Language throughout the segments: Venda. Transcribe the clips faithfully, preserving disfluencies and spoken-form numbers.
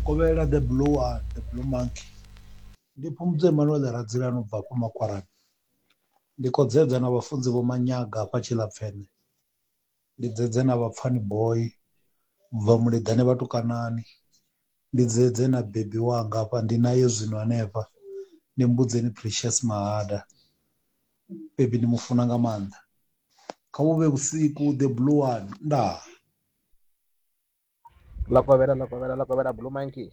Kovhela the blue one, the blue monkey. Ndi Phumudzo Emmanuel Radzilani ubva hafha Makwarani. Ndi khou dzedza na vhafunzi Vho Manyaga hafha Tshilapfene. Ndi dzedze na vhapfani boy ubva Muleḓane Vhatukanani. Ndi dzedze na bebi wanga hafha ndi naye zwino hanefha. Ndi Mbudzeni Precious Mahada. Bebi ndi mufuna nga maanḓa. Kha vhu vhe vhusiku the blue one. Ndaa. Ḽa kovhela ḽa kovhela ḽa kovhela Blue Monkey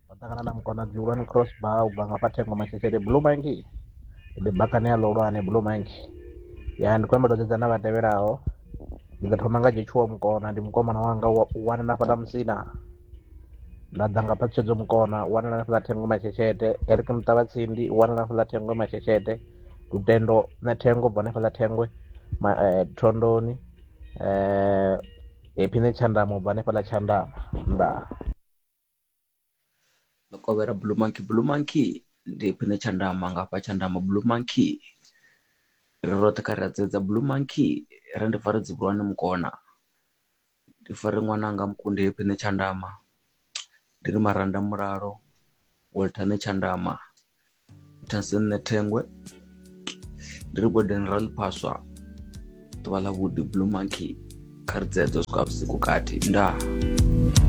vha ṱangana na mukonadzi hulwane cross bar ubva nga fha Thengo Masheshele. Blue Monkey ndi bakane ya ḽihulwane Blue Monkey. Ya ndi khou humbela u dzedza na vha tevhelaho. Ndi ḓo thoma nga Joshua Mukona, ndi mukomana wanga wa u wana na fhaḽa Musina. Nda ḓa nga Phaṱhutshedzo Mukona, u wanala na fhaḽa Thengo Masheshete. Eric Muṱavhatsindi u wanala na fhaḽa Thengwe Masheshete. Lutendo na Thengo ubva hanefhaḽa Thengwe ma, eh, Thondoni. Eh, Happy Netshandama ubva hanefhaḽa Tshandama. Ndaa. Ḽa kovhela Blue Monkey. Blue Monkey ndi Happy Netshandama nga hafha Tshandama. Blue Monkey ri roṱhe kha ri a dzedza. Blue Monkey ri ndi fare dzibulwane Mukona, ndi fare ṅwananga Mukundi Happy Netshandama, ndi ri Maranda Mulalo, Walter Netshandama, Thansen Nethengwe, ndi ri Gordon Raliphaswa. Ḓuvha ḽa vhuḓi Blue Monkey kha ri dzedze u swika vhusiku kati. Ndaa.